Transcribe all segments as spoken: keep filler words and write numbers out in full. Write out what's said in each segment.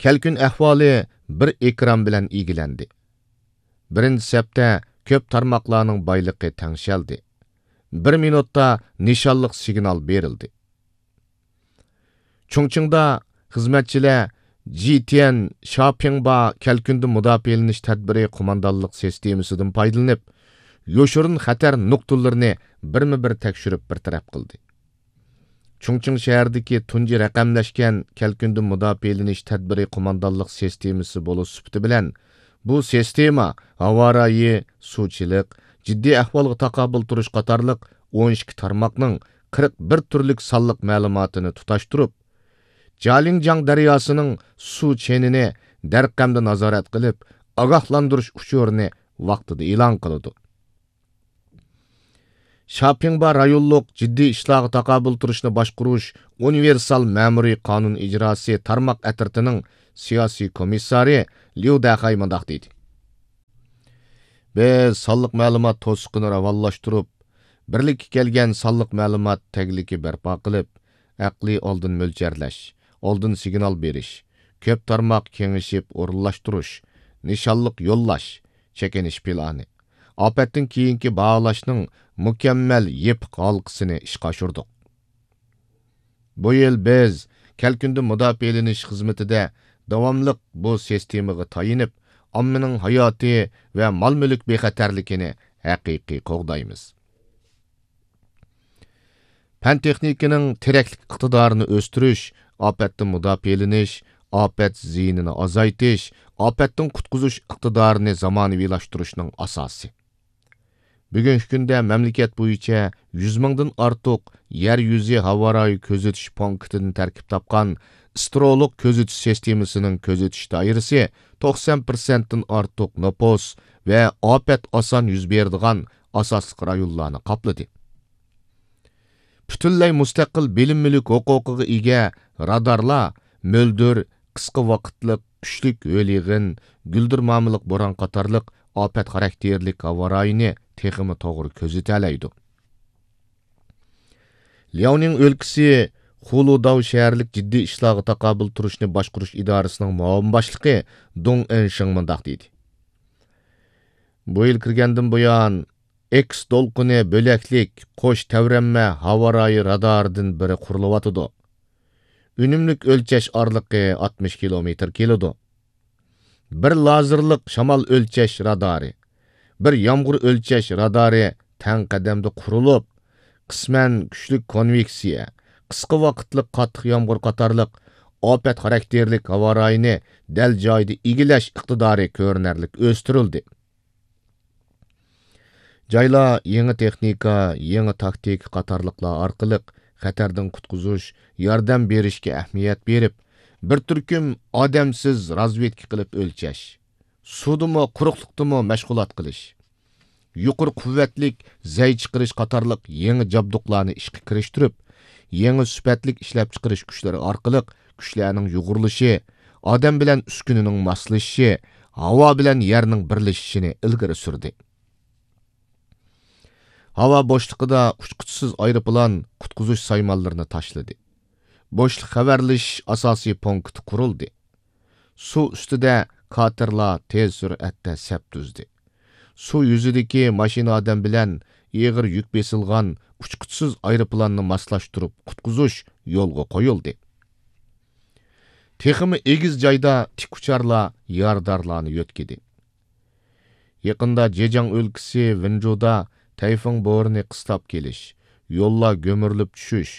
كەلكۈن ئەھۋالى بىر ئېكران بىلەن ئىگىلەندى. بىرىنچى سەپتە كۆپ تارماقلارنىڭ بايلىقى تەڭشەلدى. بىر مىنۇتتا نىشانلىق سىگنال بېرىلدى. چۇڭچىڭدا خىزمەتچىلەر جىتيەن شاپىڭبا كەلكۈندىن مۇداپىئەلىنىش تەدبىرى قوماندانلىق سىستېمىسىدىن پايدىلىنىپ، يوشۇرۇن خەتەر نۇقتىلىرىنى بىرمۇ بىر تەكشۈرۈپ بىر تەرەپ قىلدى. چۇڭچىڭ شەھىرىدىكى تۇنجى رەقەملەشكەن كەلكۈندىن مۇداپىئەلىنىش تەدبىرى قوماندانلىق سىستېمىسى بولۇش سۈپىتى بىلەن، بۇ سىستېما ھاۋا رايى، سۇچىلىق، جىددىي ئەھۋالغا تاقابىل تۇرۇش قاتارلىق ئون ئىككى تارماقنىڭ قىرىق بىر تۈرلۈك سانلىق مەلۇماتىنى تۇتاشتۇرۇپ، جالىڭجياڭ دەرياسىنىڭ سۇ چېنىنى دەرقەمدە نازارەت قىلىپ، ئاگاھلاندۇرۇش ئۇچۇرىنى ۋاقتىدا ئېلان قىلىدۇ. شاپىڭبا رايونلۇق جىددىي ئىشلارغا تاقابىل تۇرۇشنى باشقۇرۇش ئۇنىۋېرسال مەمۇرىي قانۇن ئىجراسى تارماق ئەترىتىنىڭ سىياسىي كومىسسارى ليۇ دەخەي مۇنداق دېدى: بىز سانلىق مەلۇمات توسۇقىنى راۋانلاشتۇرۇپ، بىرلىككە كەلگەن سانلىق مەلۇمات تەگلىكى بەرپا قىلىپ، ئەقلىي ئالدىن مۆلچەرلەش، ئالدىن سىگنال بېرىش، كۆپ تارماق كېڭىشىپ ئورۇنلاشتۇرۇش، نىشانلىق يوللاش، چېكىنىش پىلانى، ئاپەتتىن كېيىنكى باھالاشنىڭ مۇكەممەل يېپىق ھالقىسىنى ئىشقا ئاشۇردۇق. بۇ يىل بىز كەلكۈندىن مۇداپىئەلىنىش خىزمىتىدە داۋاملىق بۇ سىستېمىغا تايىنىپ، ئاممىنىڭ ھاياتى ۋە مال-مۈلۈك بىخەتەرلىكىنى ھەقىقىي قوغدايمىز. پەن-تېخنىكىنىڭ تىرەكلىك ئىقتىدارىنى ئۆستۈرۈش، ئاپەتتىن مۇداپىئەلىنىش، ئاپەت زىيىنىنى ئازايتىش، ئاپەتتىن قۇتقۇزۇش ئىقتىدارىنى زامانىۋىلاشتۇرۇشنىڭ ئاساسى. بۈگۈنكى كۈندە مەملىكەت بويىچە يۈز مىڭدىن ئارتۇق يەر يۈزى ھاۋا رايى كۆزىتىش پونكىتىدىن تەركىب تاپقان ئىسترولۇق كۆزىتىش سىستېمىسىنىڭ كۆزىتىش دائىرىسى توقسان پىرسەنتتىن ئارتۇق نوپۇس ۋە ئاپەت ئاسان يۈز بېرىدىغان ئاساسلىق رايونلارنى قاپلىدى. پۈتۈنلەي مۇستەقىل بىلىم مۈلۈك ھوقۇقىغا ئىگە رادارلار مۆلدۈر، قىسقا ۋاقىتلىق، كۈچلۈك ھۆل يېغىن، گۈلدۈرمامىلىق بوران قاتارلىق ئاپەت خاراكتېرلىك ھاۋا رايىنى تېخىمۇ توغرا كۆزىتەلەيدۇ. لياۋنىڭ ئۆلكىسى خۇلۇداۋ شەھەرلىك جىددىي ئىشلارغا تاقابىل تۇرۇشنى باشقۇرۇش ئىدارىسىنىڭ مۇئاۋىن باشلىقى دۇڭ ئېنشىڭ مۇنداق دېدى: بۇ يىل كىرگەندىن بۇيان، ئېكس دولقۇنى بۆلەكلىك قوش تەۋرەنمە ھاۋا رايى رادارىدىن بىرى قۇرۇلۇۋاتىدۇ. ئۈنۈملۈك ئۆلچەش ئارىلىقى ئاتمىش كىلومېتىر كېلىدۇ. بىر لازېرلىق شامال ئۆلچەش رادارى، بىر يامغۇر ئۆلچەش رادارى تەڭ قەدەمدە قۇرۇلۇپ، قىسمەن كۈچلۈك كونۋېكسىيە، قىسقا ۋاقىتلىق قاتتىق يامغۇر قاتارلىق ئاپەت خاراكتېرلىك ھاۋا رايىنى دەل جايىدا ئىگىلەش ئىقتىدارى كۆرۈنەرلىك ئۆستۈرۈلدى. جايلار يېڭى تېخنىكا، يېڭى تاكتىكا قاتارلىقلار ئارقىلىق خەتەردىن قۇتقۇزۇش، ياردەم بېرىشكە ئەھمىيەت بېرىپ، بىر تۈركۈم ئادەمسىز رازۋېدكا قىلىپ ئۆلچەش، سۇدىمۇ، قۇرۇقلۇقتىمۇ مەشغۇلات قىلىش، يۇقىرى قۇۋۋەتلىك زەي چىقىرىش قاتارلىق يېڭى جابدۇقلارنى ئىشقا كىرىشتۈرۈپ، يېڭى سۈپەتلىك ئىشلەپچىقىرىش كۈچلىرى ئارقىلىق كۈچلەرنىڭ يۇغۇرۇلۇشى، ئادەم بىلەن ئۈسكۈنىنىڭ ماسلىشىشى، ھاۋا بىلەن يەرنىڭ بىرلىشىشىنى ئىلگىرى سۈردى. ھاۋا بوشلۇقىدا ئۇچقۇچىسىز ئايروپىلان قۇتقۇزۇش سايمانلىرىنى تاشلىدى. بوشلۇق خەۋەرلىشىش ئاساسىي پونكىتى قۇرۇلدى. سۇ ئۈستىدە كاتېرلار تېز سۈرئەتتە سەپ تۈزدى. سۇ يۈزىدىكى ماشىنا ئادەم بىلەن ئېغىر يۈك بېسىلغان ئۇچقۇچىسىز ئايروپىلاننى ماسلاشتۇرۇپ قۇتقۇزۇش يولغا قويۇلدى. تېخىمۇ ئېگىز جايدا تىك ئۇچارلار يارىدارلارنى يۆتكىدى. يېقىندا جېجياڭ ئۆلكىسى ۋېنجۇدا تەيفۇڭ بورىنى قىستاپ كېلىش، يوللار گۆمۈرۈلۈپ چۈشۈش،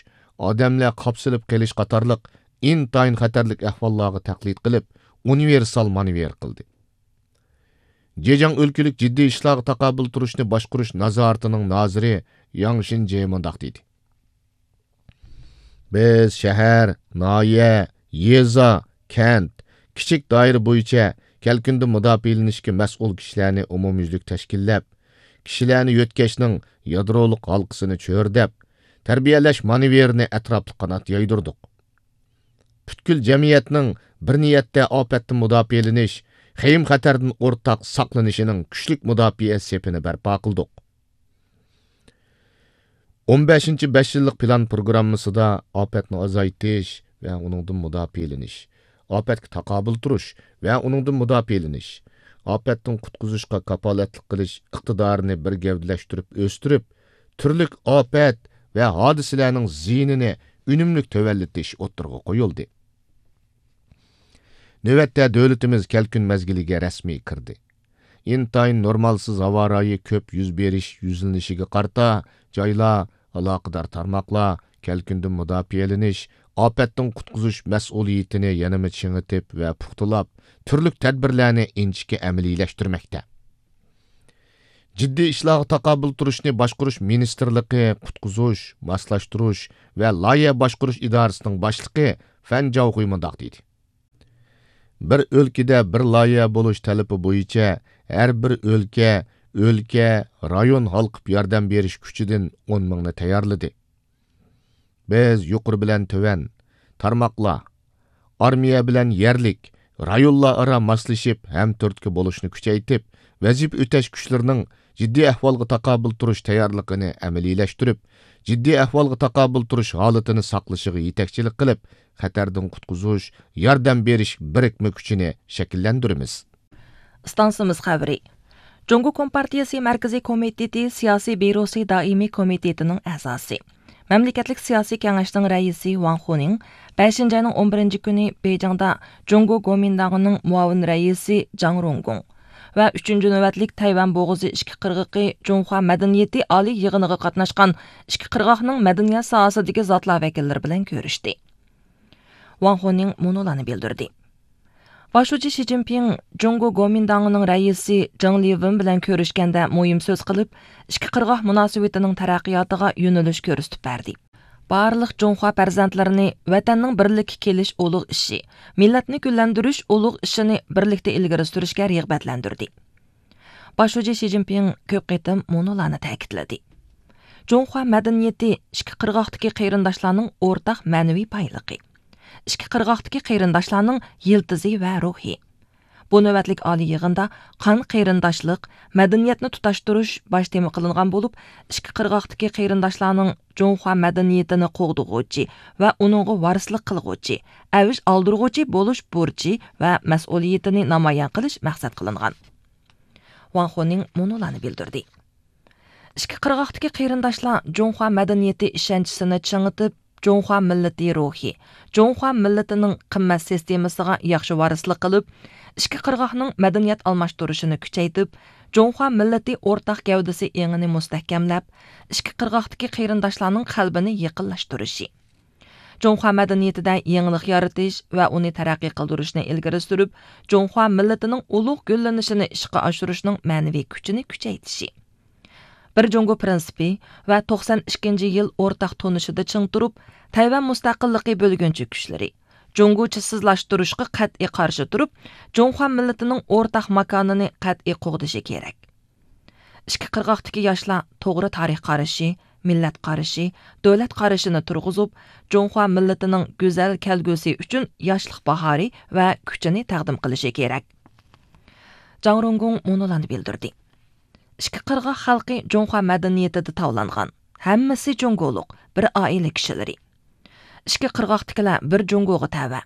ئادەملەر قاپسىلىپ قېلىش قاتارلىق ئىنتايىن خەتەرلىك ئەھۋاللارغا تەقلىد قىلىپ، ئۇنىۋېرسال مانېۋىر قىلدى. جېجياڭ ئۆلكىلىك جىددىي ئىشلارغا تاقابىل تۇرۇشنى باشقۇرۇش نازارىتىنىڭ نازىرى ياڭ شىنجې مۇنداق دېدى: بىز شەھەر، ناھىيە، يېزا، كەنت، كىچىك دائىرە بويىچە كەلكۈندىن مۇداپىئەلىنىشكە مەسئۇل كىشىلەرنى ئومۇميۈزلۈك تەشكىللەپ، كىشىلەرنى يۆتكەشنىڭ يادرولۇق ھالقىسىنى چۆرىدەپ، تەربىيەلەش مانېۋىرىنى ئەتراپلىق قانات يايدۇردۇق. پۈتكۈل جەمئىيەتنىڭ بىر نىيەتتە ئاپەتتىن مۇداپىئەلىنىش، خېيىم-خەتەردىن ئورتاق ساقلىنىشىنىڭ كۈچلۈك مۇداپىئە سېپىنى بەرپا قىلدۇق. ئون بەشىنچى بەش يىللىق پىلان پروگراممىسىدا ئاپەتنى ئازايتىش ۋە ئۇنىڭدىن مۇداپىئەلىنىش، ئاپەتكە تاقابىل تۇرۇش ۋە ئۇنىڭدىن مۇداپىئەلىنىش، ئاپەتتىن قۇتقۇزۇشقا كاپالەتلىك قىلىش ئىقتىدارىنى بىر گەۋدىلەشتۈرۈپ ئۆستۈرۈپ، تۈرلۈك ئاپەت ۋە ھادىسىلەرنىڭ زىيىنىنى ئۈنۈملۈك تۆۋەنلىتىش ئوتتۇرىغا قويۇلدى. نۆۋەتتە دۆلىتىمىز كەلكۈن مەزگىلىگە رەسمىي كىردى. ئىنتايىن نورمالسىز ھاۋا رايى كۆپ يۈز بېرىش يۈزلىنىشىگە قارىتا، جايلار، ئالاقىدار تارماقلار كەلكۈندىن مۇداپىئەلىنىش، ئاپەتتىن قۇتقۇزۇش مەسئۇلىيىتىنى يەنىمۇ چىڭىتىپ ۋە پۇختىلاپ، تۈرلۈك تەدبىرلەرنى ئىنچىكە ئەمەلىيلەشتۈرمەكتە. جىددىي ئىشلارغا تاقابىل تۇرۇشنى باشقۇرۇش مىنىستىرلىقى قۇتقۇزۇش، ماسلاشتۇرۇش ۋە لايىھە باشقۇرۇش ئىدارىسىنىڭ باشلىقى فەن جاۋخۇي مۇنداق دېدى: بىر ئۆلكىدە بىر لايىھە بولۇش تەلىپى بويىچە ھەر بىر ئۆلكە، ئۆلكە، رايون ھالقىپ ياردەم بېرىش كۈچىدىن ئون مىڭنى تەييارلىدى. بىز يۇقىرى بىلەن تۆۋەن، تارماقلار، ئارمىيە بىلەن يەرلىك، رايونلار ئارا ماسلىشىپ، ھەمتۈرتكە بولۇشنى كۈچەيتىپ، ۋەزىپە ئۆتەش كۈچلىرىنىڭ جىددىي ئەھۋالغا تاقابىل تۇرۇش تەييارلىقىنى ئەمەلىيلەشتۈرۈپ، جىددىي ئەھۋالغا تاقابىل تۇرۇش ھالىتىنى ساقلىشىغا يېتەكچىلىك قىلىپ، خەتەردىن قۇتقۇزۇش، ياردەم بېرىش بىرىكمە كۈچىنى شەكىللەندۈرىمىز. ئىستانسىمىز خەۋىرى. جۇڭگو كومپارتىيىسى مەركىزىي كومىتېتى سىياسىي بيۇروسى دائىمىي كومىتېتىنىڭ ئەزاسى، مەملىكەتلىك سىياسىي كېڭەشنىڭ رەئىسى ۋاڭ خۇنىڭ بەشىنچى ئاينىڭ ئون بىرىنچى كۈنى بېيجىڭدا جۇڭگو گومىنداڭىنىڭ مۇئاۋىن رەئىسى جاڭ رۇڭگۇڭ ۋە ئۈچىنچى نۆۋەتلىك تەيۋەن بوغۇزى ئىككى قىرغىقى جۇڭخۇا مەدەنىيىتى ئالىي يىغىنىغا قاتناشقان ئىككى قىرغاقنىڭ مەدەنىيەت ساھەسىدىكى زاتلار ۋەكىللىرى بىلەن كۆرۈشتى. ۋاڭ خۇنىڭ مۇنۇلارنى بىلدۈردى. باش شۇجى شى جىنپىڭ جۇڭگو گومىنداڭىنىڭ رەئىسى جېڭ لىۋېن بىلەن كۆرۈشكەندە مۇھىم سۆز قىلىپ، ئىككى قىرغاق مۇناسىۋىتىنىڭ تەرەققىياتىغا يۆنىلىش كۆرسىتىپ بەردى. بارلىق جۇڭخۇا پەرزەنتلىرىنى ۋەتەننىڭ بىرلىككە كېلىش ئۇلۇغ ئىشى، مىللەتنى گۈللەندۈرۈش ئۇلۇغ ئىشىنى بىرلىكتە ئىلگىرى سۈرۈشكە رىغبەتلەندۈردى. باش شۇجى شى جىنپىڭ كۆپ قېتىم مۇنۇلارنى تەكىتلىدى. جۇڭخۇا مەدەنىيىتى ئىككى قىرغاقتىكى قېرىنداشلارنىڭ ئورتاق مەنىۋى بايلىقى. ئىككى قىرغاقتىكى قېرىنداشلارنىڭ يىلتىزى ۋە روھى. بۇ نۆۋەتلىك ئالىي يىغىندا قان قېرىنداشلىق، مەدەنىيەتنى تۇتاشتۇرۇش باش تېما قىلىنغان بولۇپ، ئىككى قىرغاقتىكى قېرىنداشلارنىڭ جۇڭخۇا مەدەنىيىتىنى قوغدىغۇچى ۋە ئۇنىڭغا ۋارىسلىق قىلغۇچى، ئەۋج ئالدۇرغۇچى بولۇش بۇرچى ۋە مەسئۇلىيىتىنى نامايان قىلىش مەقسەت قىلىنغان. ۋاڭ خۇنىڭ مۇنۇلارنى بىلدۈردى. ئىككى قىرغاقتىكى قېرىنداشلار جۇڭخۇا مەدەنىيىتى ئىشەنچىسىنى چىڭىتىپ، جۇڭخۇا مىللىتى روھى، جۇڭخۇا مىللىتىنىڭ قىممەت سىستېمىسىغا ياخشى ۋارىسلىق قىلىپ، ئىككى قىرغاقنىڭ مەدەنىيەت ئالماشتۇرۇشىنى كۈچەيتىپ، جۇڭخۇا مىللىتى ئورتاق گەۋدىسى ئېڭىنى مۇستەھكەملەپ، ئىككى قىرغاقتىكى قېرىنداشلارنىڭ قەلبىنى يېقىنلاشتۇرۇشى، جۇڭخۇا مەدەنىيىتىدە يېڭىلىق يارىتىش ۋە ئۇنى تەرەققىي قىلدۇرۇشنى ئىلگىرى سۈرۈپ، جۇڭخۇا مىللىتىنىڭ ئۇلۇغ گۈللىنىشىنى ئىشقا ئاشۇرۇشنىڭ مەنىۋى كۈچىنى كۈچەيتىشى، بىر جۇڭگو پىرىنسىپى ۋە توقسان ئىككىنچى يىل ئورتاق تونۇشىدا چىڭ تۇرۇپ، تەيۋەن مۇستەقىللىقى بۆلگۈنچى كۈچلىرى، جۇڭگوچىسىزلاشتۇرۇشقا قەتئىي قارشى تۇرۇپ، جۇڭخۇا مىللىتىنىڭ ئورتاق ماكانىنى قەتئىي قوغدىشى كېرەك. ئىككى قىرغاقتىكى ياشلار توغرا تارىخ قارىشى، مىللەت قارىشى، دۆلەت قارىشىنى تۇرغۇزۇپ، جۇڭخۇا مىللىتىنىڭ گۈزەل كەلگۈسى ئۈچۈن ياشلىق باھارى ۋە كۈچىنى تەقدىم قىلىشى كېرەك. جاڭ رۇڭگۇڭ مۇنۇلارنى بىلدۈردى. ئىككى قىرغاق خەلقى جۇڭخۇا مەدەنىيىتىدە تاۋلانغان، ھەممىسى جۇڭگولۇق، بىر ئائىلە كىشىلىرى. ئىككى قىرغاقتىكىلەر بىر جۇڭگوغا تەۋە.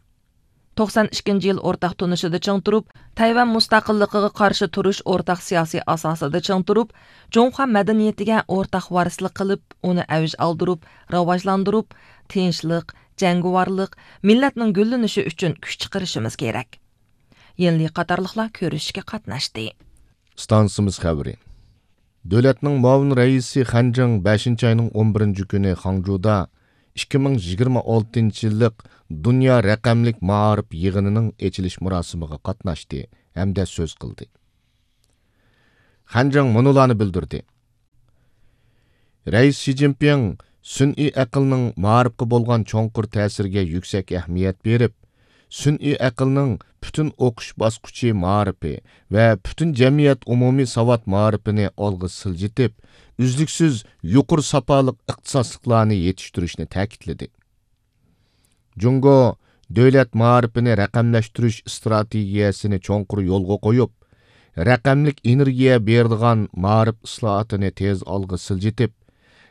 توقسان ئىككىنچى يىل ئورتاق تونۇشىدا چىڭ تۇرۇپ، تەيۋەن مۇستەقىللىقىغا قارشى تۇرۇش ئورتاق سىياسىي ئاساسىدا چىڭ تۇرۇپ، جۇڭخۇا مەدەنىيىتىگە ئورتاق ۋارىسلىق قىلىپ، ئۇنى ئەۋج ئالدۇرۇپ، راۋاجلاندۇرۇپ، تىنچلىق، جەڭگىۋارلىق، مىللەتنىڭ گۈللىنىشى ئۈچۈن كۈچ چىقىرىشىمىز كېرەك. يىنلى قاتارلىقلار كۆرۈشۈشكە قاتناشتى. ئىستانسىمىز خەۋىرى. دۆلەتنىڭ مۇئاۋىن رەئىسى خەن جىڭ بەشىنچى ئاينىڭ ئون بىرىنچى كۈنى خاڭجۇدا ئىككى مىڭ يىگىرمە ئالتىنچى يىللىق دۇنيا رەقەملىك مائارىپ يىغىنىنىڭ ئېچىلىش مۇراسىمىغا قاتناشتى ھەمدە سۆز قىلدى. خەن جىڭ مۇنۇلارنى بىلدۈردى. رەئىس شى جىنپىڭ سۈنئىي ئەقىلنىڭ مائارىپقا بولغان چوڭقۇر تەسىرىگە يۈكسەك ئەھمىيەت بېرىپ، سۈنئىي ئەقىلنىڭ پۈتۈن ئوقۇش باسقۇچى مائارىپى ۋە پۈتۈن جەمئىيەت ئومۇمىي ساۋات مائارىپىنى ئالغا سىلجىتىپ، ئۈزلۈكسىز يۇقىرى ساپالىق ئىختىساسلىقلارنى يېتىشتۈرۈشنى تەكىتلىدى. جۇڭگو دۆلەت مائارىپىنى رەقەملەشتۈرۈش ئىستراتېگىيەسىنى چوڭقۇر يولغا قويۇپ، رەقەملىك ئېنېرگىيە بېرىدىغان مائارىپ ئىسلاھاتىنى تېز ئالغا سىلجىتىپ،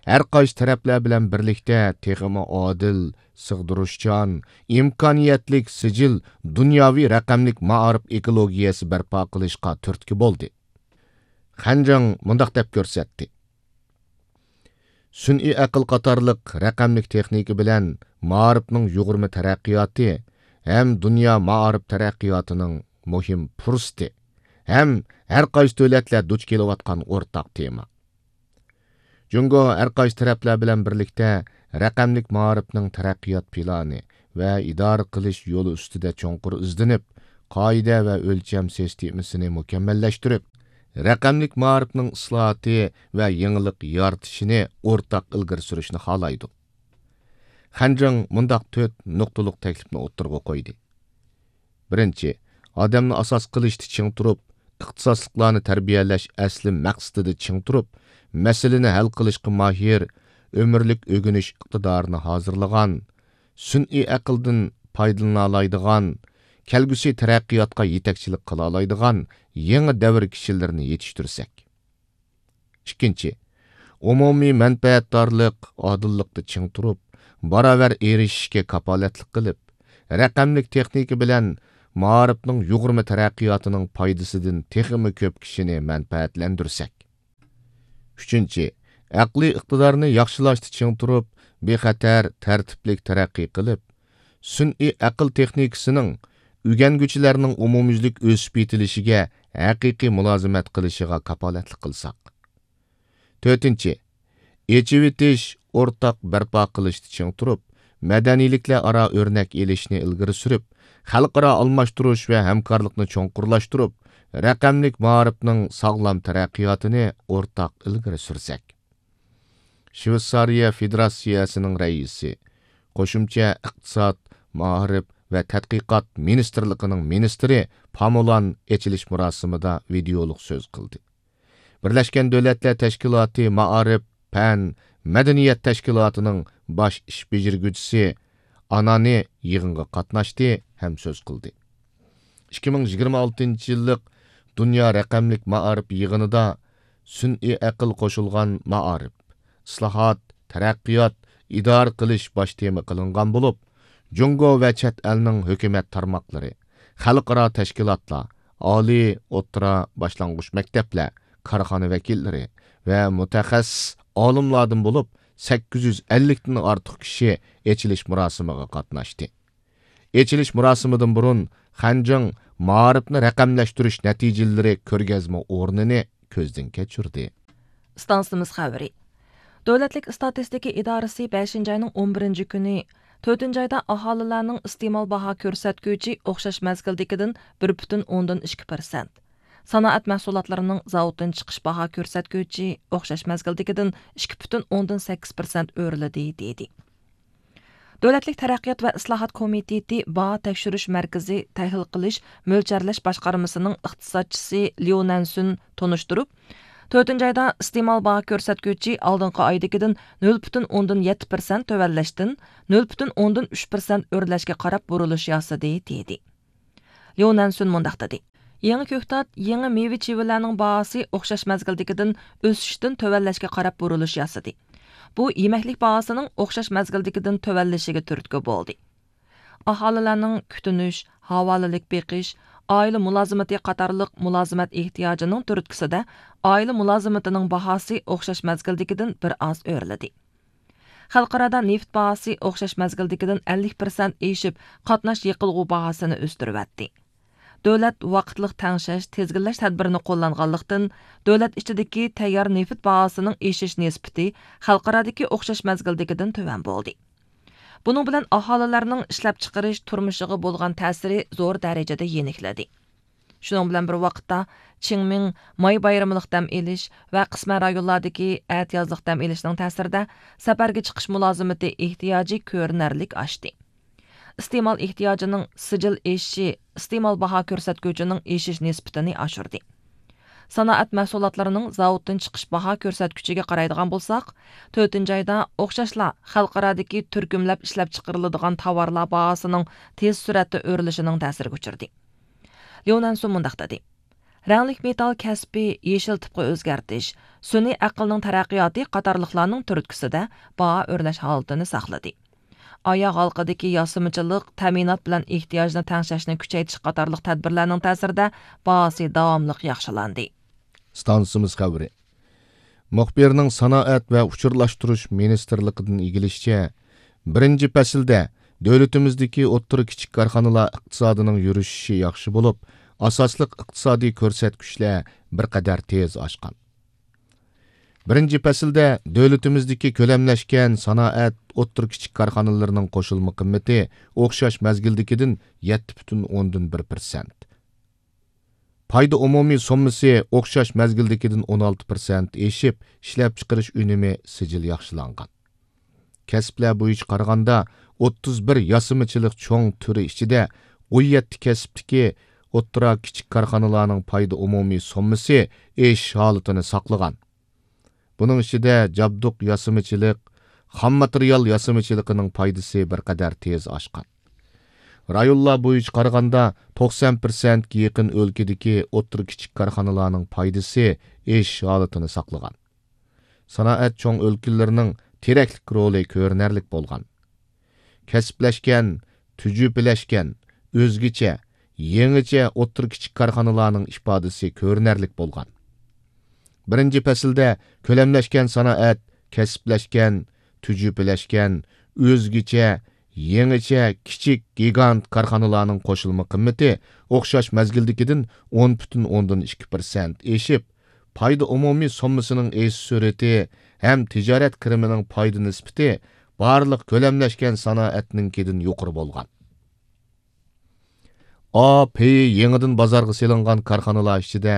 ھەر قايسى تەرەپلەر بىلەن بىرلىكتە تېخىمۇ ئادىل، سىغدۇرۇشچان، ئىمكانىيەتلىك سىجىل دۇنياۋى رەقەملىك مائارىپ ئېكولوگىيەسى بەرپا قىلىشقا تۈرتكە بولدى. خەنجىڭ مۇنداق دەپ كۆرسەتتى: سۈنئىي ئەقىل قاتارلىق رەقەملىك تېخنىكا بىلەن مائارىپنىڭ يۇغۇرما تەرەققىياتى ھەم دۇنيا مائارىپ تەرەققىياتىنىڭ مۇھىم پۇرسىتى ھەم ھەر قايسى دۆلەتلەر دۇچ كېلىۋاتقان ئورتاق تېما. جۇڭگو ھەر قايسى تەرەپلەر بىلەن بىرلىكتە رەقەملىك مائارىپنىڭ تەرەققىيات پىلانى ۋە ئىدارە قىلىش يولى ئۈستىدە چوڭقۇر ئىزدىنىپ، قائىدە ۋە ئۆلچەم سىستېمىسىنى مۇكەممەللەشتۈرۈپ، رەقەملىك مائارىپنىڭ ئىسلاھاتى ۋە يېڭىلىق يارىتىشىنى ئورتاق ئىلگىرى سۈرۈشنى خالايدۇ. خەنجىڭ مۇنداق تۆت نۇقتىلىق تەكلىپنى ئوتتۇرىغا قويدى. بىرىنچى، ئادەمنى ئاساس قىلىشتا چىڭ تۇرۇپ، ئىختىساسلىقلارنى تەربىيەلەش ئەسلى مەقسىتىدە چىڭ تۇرۇپ، مەسىلىنى ھەل قىلىشقا ماھىر، ئۆمۈرلۈك ئۆگىنىش ئىقتىدارىنى ھازىرلىغان، سۈنئىي ئەقىلدىن پايدىلىنالايدىغان، كەلگۈسى تەرەققىياتقا يېتەكچىلىك قىلالايدىغان يېڭى دەۋر كىشىلىرىنى يېتىشتۈرسەك. ئىككىنچى، ئومۇمىي مەنپەئەتدارلىق، ئادىللىقتا چىڭ تۇرۇپ، باراۋەر ئېرىشىشكە كاپالەتلىك قىلىپ، رەقەملىك تېخنىكا بىلەن مائارىپنىڭ يۇغۇرما تەرەققىياتىنىڭ پايدىسىدىن تېخىمۇ كۆپ كىشىنى مەنپەئەتلەندۈرسەك. ئۈچىنچى، ئەقلىي ئىقتىدارنى ياخشىلاشتا چىڭ تۇرۇپ، بىخەتەر، تەرتىپلىك تەرەققىي قىلىپ، سۈنئىي ئەقىل تېخنىكىسىنىڭ ئۆگەنگۈچىلەرنىڭ ئومۇميۈزلۈك ئۆسۈپ يېتىلىشىگە ھەقىقىي مۇلازىمەت قىلىشىغا كاپالەتلىك قىلساق. تۆتىنچى، ئېچىۋېتىش، ئورتاق بەرپا قىلىشتا چىڭ تۇرۇپ، مەدەنىيلىكلەر ئارا ئۆرنەك ئېلىشنى ئىلگىرى سۈرۈپ، خەلقئارا ئالماشتۇرۇش ۋە ھەمكارلىقنى چوڭقۇرلاشتۇرۇپ، رەقەملىك مائارىپنىڭ ساغلام تەرەققىياتىنى ئورتاق ئىلگىرى سۈرسەك. شۋېتسارىيە فېدېراتسىيەسىنىڭ رەئىسى، قوشۇمچە ئىقتىساد، مائارىپ ۋە تەتقىقات مىنىستىرلىقىنىڭ مىنىستىرى پامولان ئېچىلىش مۇراسىمىدا ۋىدېئولۇق سۆز قىلدى. بىرلەشكەن دۆلەتلەر تەشكىلاتى مائارىپ، پەن، مەدەنىيەت تەشكىلاتىنىڭ باش ئىش بېجىرگۈچىسى ئانانى يىغىنغا قاتناشتى ھەم سۆز قىلدى. ئىككى مىڭ يىگىرمە ئالتىنچى يىللىق دۇنيا رەقەملىك مائارىپ يىغىنىدا سۈنئىي ئەقىل قوشۇلغان مائارىپ، ئىسلاھات، تەرەققىيات، ئىدارە قىلىش باش تېما قىلىنغان بولۇپ، جۇڭگو ۋە چەت ئەلنىڭ ھۆكۈمەت تارماقلىرى، خەلقئارا تەشكىلاتلار، ئالىي، ئوتتۇرا، باشلانغۇچ مەكتەپلەر، كارخانا ۋەكىللىرى ۋە مۇتەخەسسىس ئالىملاردىن بولۇپ، سەككىز يۈز ئەللىكتىن ئارتۇق كىشى ئېچىلىش مۇراسىمىغا قاتناشتى. ئېچىلىش مۇراسىمىدىن بۇرۇن خەنجىڭ مائارىپنى رەقەملەشتۈرۈش نەتىجىلىرى كۆرگەزمە ئورنىنى كۆزدىن كەچۈردى. ئىستانسىمىز خەۋىرى. دۆلەتلىك ئىستاتىستىكا ئىدارىسى بەشىنچى ئاينىڭ ئون بىرىنچى كۈنى تۆتىنچى ئايدا ئاھالىلەرنىڭ ئىستېمال باھا كۆرسەتكۈچى ئوخشاش مەزگىلدىكىدىن بىر پۈتۈن ئوندىن ئىككى پىرسەنت، سانائەت مەھسۇلاتلىرىنىڭ زاۋۇتتىن چىقىش باھا كۆرسەتكۈچى ئوخشاش مەزگىلدىكىدىن ئىككى پۈتۈن ئوندىن سەككىز پىرسەنت ئۆرلىدى، دېدى. دۆلەتلىك تەرەققىيات ۋە ئىسلاھات كومىتېتى باھا تەكشۈرۈش مەركىزى تەھلىل قىلىش، مۆلچەرلەش باشقارمىسىنىڭ ئىقتىسادچىسى ليۇ نەنسۈن تونۇشتۇرۇپ، تۆتىنچى ئايدا ئىستېمال باھا كۆرسەتكۈچى ئالدىنقى ئايدىكىدىن نۆل پۈتۈن ئوندىن يەتتە پىرسەنت تۆۋەنلەشتىن نۆل پۈتۈن ئوندىن ئۈچ پىرسەنت ئۆرلەشكە قاراپ بۇرۇلۇش ياسىدى، دېدى. ليۇ نەنسۈن مۇنداق دېدى: يېڭى كۆكتات، يېڭى مېۋە چىۋىلەرنىڭ باھاسى ئوخشاش مەزگىلدىكىدىن ئۆسۈشتىن تۆۋەنلەشكە قاراپ بۇرۇلۇش ياسىدى. بۇ يېمەكلىك باھاسىنىڭ ئوخشاش مەزگىلدىكىدىن تۆۋەنلىشىگە تۈرتكە بولدى. ئاھالىلەرنىڭ كۈتۈنۈش، ھاۋالىلىك بېقىش، ئائىلە مۇلازىمىتى قاتارلىق مۇلازىمەت ئېھتىياجىنىڭ تۈرتكىسىدە ئائىلە مۇلازىمىتىنىڭ باھاسى ئوخشاش مەزگىلدىكىدىن بىر ئاز ئۆرلىدى. خەلقئارادا نېفىت باھاسى ئوخشاش مەزگىلدىكىدىن ئەللىك پىرسەنت ئېشىپ، قاتناش يېقىلغۇ باھاسىنى ئۆستۈرۈۋەتتى. دۆلەت ۋاقىتلىق تەڭشەش، تىزگىنلەش تەدبىرىنى قوللانغانلىقتىن، دۆلەت ئىچىدىكى تەييار نېفىت باھاسىنىڭ ئېشىش نىسبىتى خەلقئارادىكى ئوخشاش مەزگىلدىكىدىن تۆۋەن بولدى. بۇنىڭ بىلەن ئاھالىلەرنىڭ ئىشلەپچىقىرىش، تۇرمۇشىغا بولغان تەسىرى زور دەرىجىدە يېنىكلىدى. شۇنىڭ بىلەن بىر ۋاقىتتا، چىڭمىڭ، ماي بايرىملىق دەم ئېلىش ۋە قىسمەن رايونلاردىكى ئەتىيازلىق دەم ئېلىشنىڭ تەسىرىدە سەپەرگە چىقىش مۇلازىمىتى ئېھتىياجى كۆرۈنەرلىك ئاشتى. ئىستېمال ئېھتىياجىنىڭ سىجىل ئېشىشى ئىستېمال باھا كۆرسەتكۈچىنىڭ ئېشىش نىسبىتىنى ئاشۇردى. سانائەت مەھسۇلاتلىرىنىڭ زاۋۇتتىن چىقىش باھا كۆرسەتكۈچىگە قارايدىغان بولساق، تۆتىنچى ئايدا ئوخشاشلا خەلقئارادىكى تۈركۈملەپ ئىشلەپچىقىرىلىدىغان تاۋارلار باھاسىنىڭ تېز سۈرئەتتە ئۆرلىشىنىڭ تەسىرىگە ئۇچرىدى. ليۇ نەنسۇ مۇنداق دېدى: رەڭلىك مېتال كەسپى يېشىل تىپقا ئۆزگەرتىش، سۈنئىي ئەقىلنىڭ تەرەققىياتى قاتارلىقلارنىڭ تۈرتكىسىدە باھا ئۆرلەش ھالىتىنى ساقلىدى. ئاياغ ھالقىدىكى ياسىمىچىلىق، تەمىنات بىلەن ئېھتىياجنى تەڭشەشنى كۈچەيتىش قاتارلىق تەدبىرلەرنىڭ تەسىرىدە باھاسى داۋاملىق ياخشىلاندى. ئىستانسىمىز خەۋىرى. مۇخبىرنىڭ سانائەت ۋە ئۇچۇرلاشتۇرۇش مىنىستىرلىقىدىن ئىگىلىشىچە، بىرىنچى پەسىلدە دۆلىتىمىزدىكى ئوتتۇرا، كىچىك كارخانىلار ئىقتىسادىنىڭ يۈرۈشۈشى ياخشى بولۇپ، ئاساسلىق ئىقتىسادىي كۆرسەتكۈچلەر بىر قەدەر تېز ئاشقان. بىرىنچى پەسىلدە دۆلىتىمىزدىكى كۆلەملەشكەن سانائەت، ئوتتۇرا، كىچىك كارخانىلىرىنىڭ قوشۇلما قىممىتى ئوخشاش مەزگىلدىكىدىن يەتتە پۈتۈن ئوندىن بىر پىرسەنت. پايدا ئومۇمىي سوممىسى ئوخشاش مەزگىلدىكىدىن ئون ئالتە پىرسەنت ئېشىپ، ئىشلەپچىقىرىش ئۈنۈمى سىجىل ياخشىلانغان. كەسىپلەر بويىچە قارىغاندا، ئوتتۇز بىر ياسىمىچىلىق چوڭ تۈرى ئىچىدە ئون يەتتە كەسىپتىكى ئوتتۇرا، كىچىك كارخانىلارنىڭ پايدا ئومۇمىي سوممىسى ئېشىش ھالىتىنى ساقلىغان. بۇنىڭ ئىچىدە جابدۇق ياسىمىچىلىق، خام ماتېرىيال ياسىمىچىلىقىنىڭ پايدىسى بىر قەدەر تېز ئاشقان. رايونلار بويىچە قارىغاندا، توقسان پىرسەنتكە يېقىن ئۆلكىدىكى ئوتتۇرا، كىچىك كارخانىلارنىڭ پايدىسى ئېشىش ھالىتىنى ساقلىغان. سانائەت چوڭ ئۆلكىلىرىنىڭ تىرەكلىك رولى كۆرۈنەرلىك بولغان. كەسىپلەشكەن، تۈجۈپىلەشكەن، ئۆزگىچە، يېڭىچە ئوتتۇرا، كىچىك كارخانىلارنىڭ ئىپادىسى كۆرۈنەرلىك بولغان. بىرىنچى پەسىلدە كۆلەملەشكەن سانائەت، كەسىپلەشكەن، تۈجۈپىلەشكەن، ئۆزگىچە، يېڭىچە كىچىك گىگانت كارخانىلارنىڭ قوشۇلما قىممىتى ئوخشاش مەزگىلدىكىدىن ئون پۈتۈن ئوندىن ئىككى پىرسەنت ئېشىپ، پايدا ئومۇمىي سوممىسىنىڭ ئېشىش سۈرئىتى ھەم تىجارەت كىرىمىنىڭ پايدا نىسبىتى بارلىق كۆلەملەشكەن سانائەتنىڭكىدىن يۇقىرى بولغان. ئا پېيى يېڭىدىن بازارغا سېلىنغان كارخانىلار ئىچىدە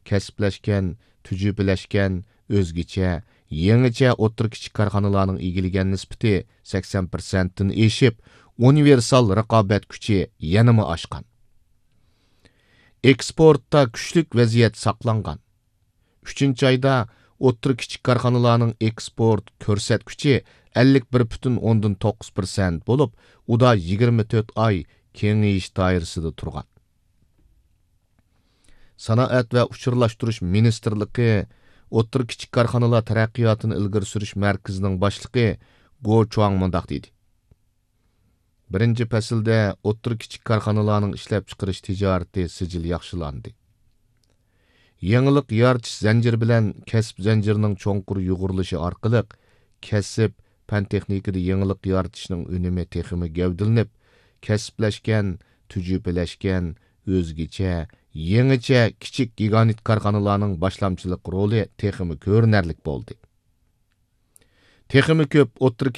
كەسىپلەشكەن، تۈجۈپىلەشكەن، ئۆزگىچە، يېڭىچە ئوتتۇرا، كىچىك كارخانىلارنىڭ ئىگىلىگەن نىسبىتى سەكسەن پىرسەنتتىن ئېشىپ، ئۇنىۋېرسال رىقابەت كۈچى يەنىمۇ ئاشقان. ئېكسپورتتا كۈچلۈك ۋەزىيەت ساقلانغان. ئۈچىنچى ئايدا ئوتتۇرا، كىچىك كارخانىلارنىڭ ئېكسپورت كۆرسەتكۈچى ئەللىك بىر پۈتۈن ئوندىن توققۇز پىرسەنت بولۇپ، ئۇدا يىگىرمە تۆت ئاي كېڭىيىش دائىرىسىدە تۇرغان. سانائەت ۋە ئۇچۇرلاشتۇرۇش مىنىستىرلىقى ئوتتۇرا، كىچىك كارخانىلار تەرەققىياتىنى ئىلگىرى سۈرۈش مەركىزىنىڭ باشلىقى گو چۇاڭ مۇنداق دېدى: بىرىنچى پەسىلدە ئوتتۇرا، كىچىك كارخانىلارنىڭ ئىشلەپچىقىرىش تىجارىتى سىجىل ياخشىلاندى. يېڭىلىق يارىتىش زەنجىرى بىلەن كەسىپ زەنجىرىنىڭ چوڭقۇر يۇغۇرۇلۇشى ئارقىلىق، كەسىپ، پەن تېخنىكىدا يېڭىلىق يارىتىشنىڭ ئۈنۈمى تېخىمۇ گەۋدىلىنىپ، كەسىپلەشكەن، تۈجۈپىلەشكەن، ئۆزگىچە، يېڭىچە كىچىك گىگانت كارخانىلارنىڭ باشلامچىلىق رولى تېخىمۇ كۆرۈنەرلىك بولدى. تېخىمۇ كۆپ ئوتتۇرا،